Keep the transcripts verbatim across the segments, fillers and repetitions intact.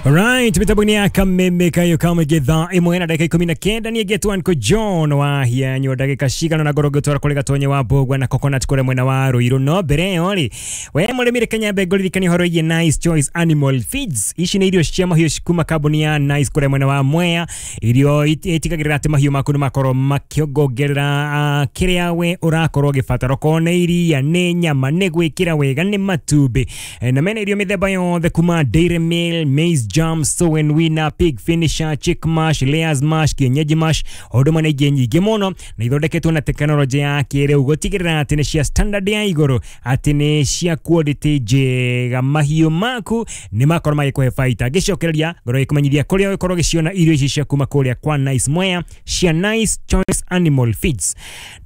Alright, mitambo-inĩ ya Kameme kayo kamũingĩ thaa ĩmwe na ndagĩka ikũmi na kenda niĩ ngetwo Uncle John wa hianywo ndagĩka cigana na ngoro ngĩtwara kũrĩ Gatonye wa Mbũgua na Coconut kũrĩa mwena wa Ruiru. No mbere ĩyo rĩ, we mũrĩmi reke nyambe ngũririkanie ũhoro wĩgiĩ Nice Choice Animal Feeds. Ici nĩ irio cia mahiũ kuma kambuni ya Nice kũrĩa mwena wa Mwea. Irio itigagĩrĩra atĩ mahiũ maku nĩ makorwo makĩongongerera uh, kĩrĩa we ũrakorwo ũgĩbatara, okorwo nĩ iria, nĩ nyama, nĩ gwĩkĩra wega, nĩ matumbĩ. E, na mena irio mĩthemba yothe kuma dairy meal, maize jam, sow and winner, pig finisher, chick mash, layers mash, kienyeji mash, o ũndũ ũmwe na ingĩ nyingĩ mũno, na ithondeketwo na tekinoronjĩ ya kĩrĩu gũtigĩrĩra atĩ nĩ cia standard ya igũrũ, atĩ nĩ cia quality njega. Mahiũ maku nĩ makorwo magĩkũhe baita. Ngĩcokereria ngorwo gĩkũmenyithia kũrĩa ũgĩkorwo ũgĩciona irio ici cia kuma kũrĩa kwa Nice Mwea cia Nice Choice Animal Feeds.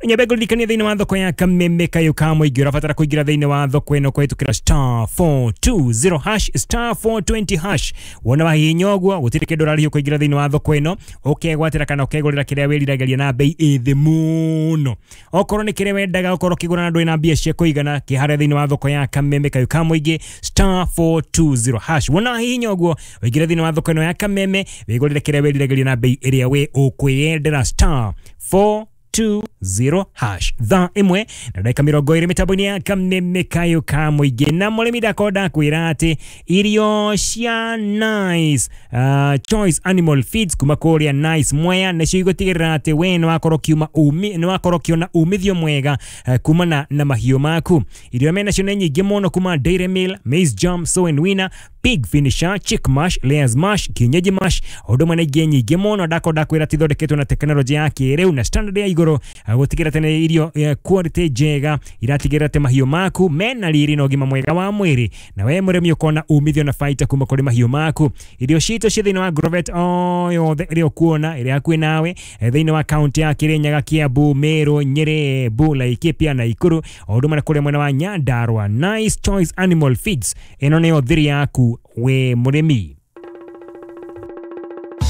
Nyambe ngũririkanie thĩinĩ wa thoko ya Kameme kayũ ka mũingĩ ũrabatara kũingĩra thĩinĩ wa thoko ĩno kũhĩtũkĩra star four two zero hash, star four twenty hash. Wona wahihinya ũguo gũtirĩ kĩndũ ũrarĩhio kũingĩra thĩinĩ wa thoko ĩno, ũkegwatĩra kana ũkegũrĩra kĩrĩa wĩriragĩria na bei ĩ thĩ mũno. Okorwo nĩ kĩrĩa wendaga ũkorwo ũkĩgũra na ndũrĩ na mbia cia kũigana, kĩharĩa thĩinĩ wa thoko ya Kameme kayũ ka mũingĩ star four two zero hash. Wona wahihinya ũguo ũingĩre thĩinĩ wa thoko ĩno ya Kameme wĩgũrĩre kĩrĩa wĩriragĩria na bei ĩrĩa we ũkwĩyendera star four two zero hash. Thaa ĩmwe na ndagĩka mĩrongo ĩrĩ mĩtambo-inĩ ya Kameme kayũ ka mũingĩ. Na mũrĩmi ndakorwo ndakwĩra atĩ irio cia Nice uh, Choice Animal Feeds kuma kũrĩa Nice Mwea nĩcio igũtigĩrĩra atĩ we nĩ wakorwo ũkiuma umi nĩ wakorwo ũkĩona umithio mwega uh, kumana na mahiũ maku. Irio menacio nĩ nyingĩ mũno kuma dairy meal, maize jam, sow and winner, pig finisher, chick mash, layers mash, kienyeji mash, o ũndũ ũmwe na ingĩ nyingĩ mũno. Ndakorwo ndakwĩra atĩ ithondeketwo na tekinoronjĩ ya kĩrĩu na standard ya igũrũ gũtigĩrĩra atĩ nĩ irio quality njega iratigĩrĩra atĩ mahiũ maku mena riri na ũgima mwega wa mwĩrĩ, na we mũrĩmi ũkona umithio na baita kuma kũrĩ mahiũ maku. Irio citũ ci thĩinĩ wa Agrovet o yothe ĩrĩa ũkuona ĩrĩa hakuhĩ nawe thĩinĩ wa kaunti ya Kirinyaga, Kiambu, Meru, Nyeri, Embu, Laikipia na Nakuru, o ũndũ ũmwe na kũrĩa mwena wa Nyandarua. Nice Choice Animal Feeds ĩno nĩyo thiri yaku we mũrĩmi.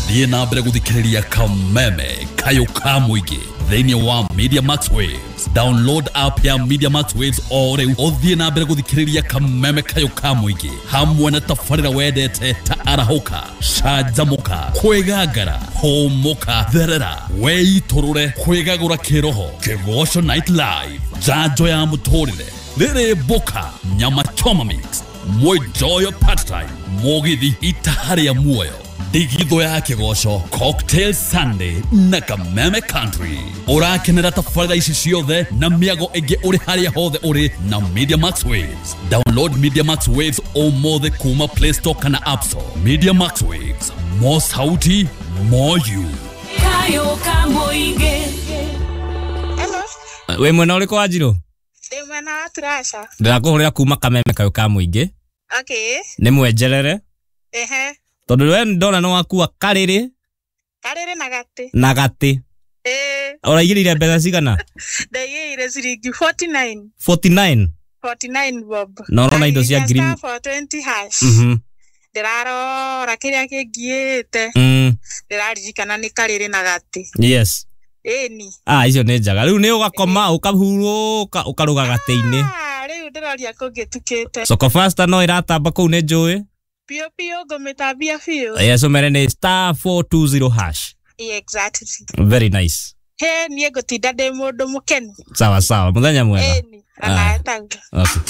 Thiĩ na mbere gũthikĩrĩria Kameme kayũ ka mũingĩ thĩinĩ wa Media Max Waves. Download app ya Media Max Waves o rĩu ũthiĩ na mbere gũthikĩrĩria Kameme kayũ ka mũingĩ hamwe na tabarĩra wendete ta arahũka, canjamũka, kwĩgangara, hũmũka, therera, weitũrũre, kwĩgagũra kĩroho, Kĩgoco Night Live, njanjo ya mũtũrĩre, rĩrĩ mboka, nyama choma mix, mwenjoyo part time, mũgithi itaha rĩa muoyo, ndigithũ ya kĩgoco, Cocktail Sunday na Kameme Country. Ũrakenera tabarĩra ici ciothe na mĩago ĩngĩ ũrĩ harĩa hothe ũrĩ na Media Max Waves. Download Media Max Waves ũmũthĩ kuma Play Store kana App Store. Media Max Waves, more sauti, more you. Kayo ka mũingĩ. Hello. Wĩ mwena ũrĩkũ wa Njirũ? Ndĩ mwena wa Turasha. Ndĩrakũhũrĩra kuma Kameme kayũ ka mũingĩ. Okay. Nĩ mwenjerere. Ehe. Tondũ we ndona nĩ wakua karĩrĩ Karĩrĩ na gatĩ. na gatĩ. Ĩĩ. Ũraigĩrĩire mbeca cigana? Ndaigĩire ciringi forty nine. forty nine? forty nine bob. Na ũrona indo cia ngiri Star four twenty hash. Mhm. Ndĩrarora kĩrĩa kĩngiĩte. Mm. Ndĩraririkana nĩ karĩrĩ na gatĩ. Yes. Ĩni. Ah, icio nĩ njega. Rĩu nĩ ũgakoma ũkahurũka ũkarũga gatĩ-inĩ. Ah, rĩu ndĩroria kũngĩtukĩte. Soko Fasta no ĩratamba kũu nĩ njũĩ. Biũ biũ ngũmĩtambia biũ. Yes, ũmere nĩ star four two zero hash. Exactly. Very nice. He, niĩ ngũtinda ndĩ mũndũ mũkenu. Sawa sawa, mũthenya mwega. Ĩni, ona etaguo. Okay.